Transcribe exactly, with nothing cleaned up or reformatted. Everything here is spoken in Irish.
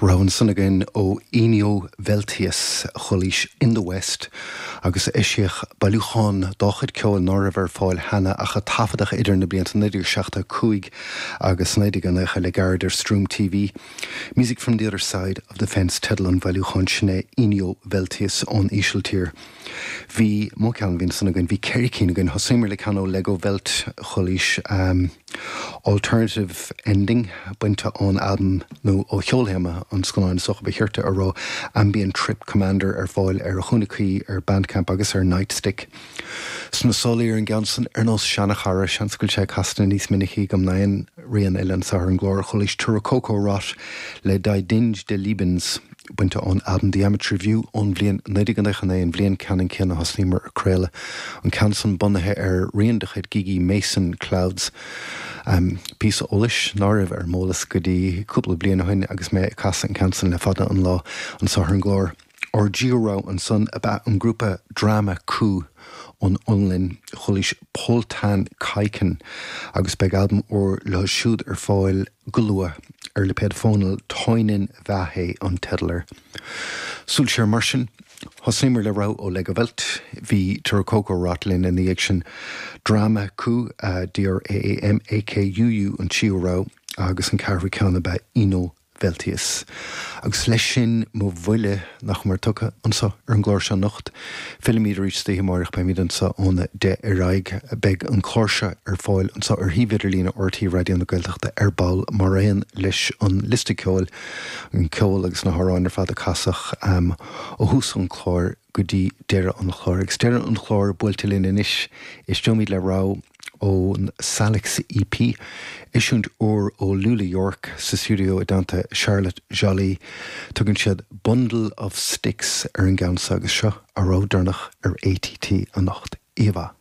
Rogha ansan againn ó Inio Veltius chualaís in the West agus eisíodh bailiúchán dá chuid ceoil ná raibh ar fáil cheana ach a taifeadadh idir na blianta naoi déag seachtó cúig agus naoi déag nócha le gairid ar Stream TV. Music from the other side of the fence teideal an bhailiúcháin sin é Inio Veltius ón Ísiltír. Bhí mó ceann bhíon san againn bhí ceithre cinn againn thosaíomar le ceann ó Legowelt chualaís um, Alternative Ending bainte ón albam nó ó cheolthéama an scannáin socha ba chirte a rá Ambient Trip Commander ar fáil ar a chúnna cuí ar Bandcamp agus ar Nightstick. Sna sálaí ar an gceann san ar nós seanchara seans go bhfuil sé casta níos minicí agam ná aon rian eile anseo ar an gclár chualaís Turokoko Rot le Die Dinge des Lebens bainte ón album The Amateur View ón bhliain naoi déag nócha naoi an bhliain ceannann céanna thosaíomar ag craoladh an ceann san bunaithe ar rian de chuid Gigi Masin Clouds. Um, Píosa eolais ná raibh ar m'eolas go dtí cúpla bliain ó shin agus mé ag casadh an ceann san le fada an lá anseo ar an gclár. Ár dtríú rogha ansan ab ea an grúpa Draama Kuu ón Fhionlainn chualaís Poltan Kaiken agus beidh albam úr leo siúd ar fáil go luath ar lipéad Fónal Toinen Vaihe an teideal air. Súil siar mar sin thosaíomar le rogha ó Legowelt, bhí Turokoko Rot linn ina dhiaidh sin Draama Kuu uh, DRAAMAKUU an tríú rogha agus an ceathrú ceann ab ea Inio Veltius. Agus leis sin mo bhuille nach mar tugtha anseo ar an gclár seo anocht, Fillimid arís istoíche amárach beimid anseo óna deich ar aghaidh beidh an clár seo ar fáil anseo ar shuíomh idirlín RTÉ Raidió na Gaeltachta ar ball mar aon leis an liosta ceoil an ceol agus na hamhráin ar fad a casadh um, ó thús an chláir go dtí deireadh an chláir. Agus deireadh an chláir buailte linn anois éisteoimid le rogha ón Salix EP, eisiúint úr ó Lula York sa stiúideo i dteannta Charlotte Jolly, tugann siad Bundle of Sticks ar an gceann agus seo ár rogha deireanach ar ATT anocht. Íomhá.